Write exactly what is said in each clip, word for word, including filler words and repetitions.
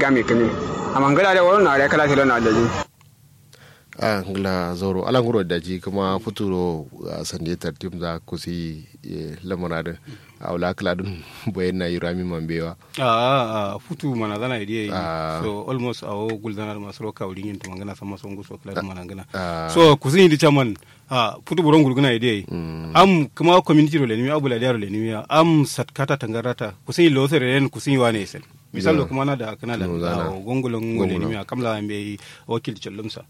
Kami kǝmi. Amma ngǝla dai woro na dai kala filo na dai. Ah, ngla zauro ala nguro daji kuma futuro. Ah, sande tartim za kusi. Eh, lamara din. Awla kala din. Boyen na yurami mambewa. Ah, ah, futu mana zana idiye. Ah. So almost awo gul zana ma suro kawri yin tumangana sama songu so kala mana ngana. Ah. So kusi indi chaman. Ah, futu buron gulguna idiye. Am kuma community ro lenimi abula diaro lenimi am satkata tangarata kusi lo sere yen kusi wane sen. Misal lo kuma na da kana da gongolon wole ni miya kamla mbe wakil challumsa.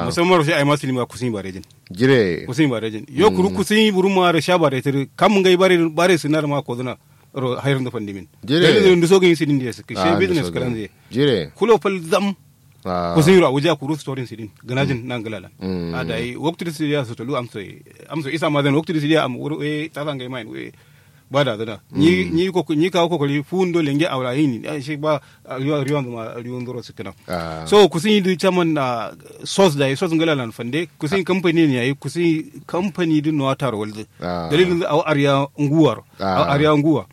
Musamman ro shi ai masu ni ma kusin barejin. Jire kusin barejin yo kuru kusin buruma ro sha bare tiri kam ngai bare bare sinar ma koduna. Ro hayar da fandimin jire ndu so gin sidin da su kishe business kalan zai jire kulo fal zam. Kusin ro abuja kuru storin sidin ganajin nan galalan. A da yi waktu da sidiya su tulu amso amso isa ma zan waktu da sidiya am wuro eh ta zangai mai we. Ba da zana ni ni ko ni kawo kokori fundo lenge awra yini shi ba. Riwa riwa zuma riwa ndoro sikina. So kusin yi chairman na sos da yi sos ngala lan fande kusin kamfani ne yayi kusin kamfani din no taro walde. Dalilin aw ariya nguwar aw ariya nguwa.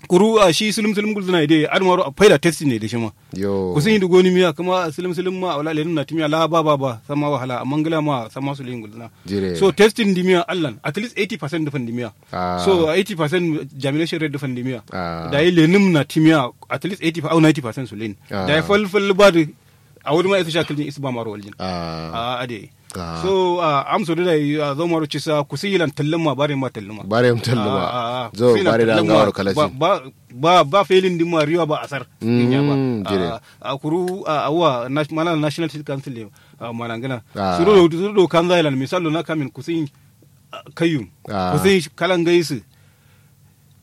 Kuru a shi sulum sulum gulzuna ide admaro a faida testing ne da shi ma. Kusin yi goni miya kuma sulum sulum ma awla lenum na timiya la ba ba ba sama wahala amma ngala ma sama sulum gulzuna. So testing dimiya allan at least eighty percent dufan dimiya. So eighty percent germination rate dufan dimiya. Da yi lenum na timiya at least eighty au ninety percent sulin. Da yi fal fal ba da a wuri ma isa sha kiljin isa ba maro waljin. A ade. So am so da yi a zo maro cisa kusi yilan tallin ma bare ma tallin ma bare ma tallin ma zo bare da ngawar kalasi. Ba ba ba felin din ma riwa ba asar. Inya ba a kuru a wa mana national state council ne. Mana ngana suru do suru do kan zailan misalo na kamin kusin kayyum. Kusin kala ngai su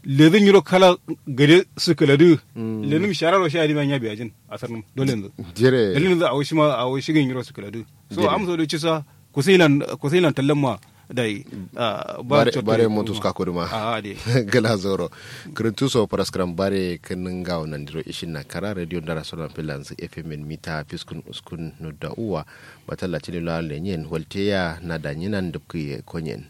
lezin yiro kala gade su kaladu. Lenum shararo sha dima nya biyajin asarnum dole yanzu. Jire dalilin yanzu awo shima awo shigin yiro su kaladu. So amso do cisa kusilan kusilan tallamma dai. Bare bare motus ka kuduma. A de gala zoro. Kuruntu so paraskram bare kinin gawo nan diro ishin na kara radio ndara sono filansu fmn mita fiskun uskun nudda uwa. Batalla tini lo alle nyen walte ya na danyinan dubki konyen.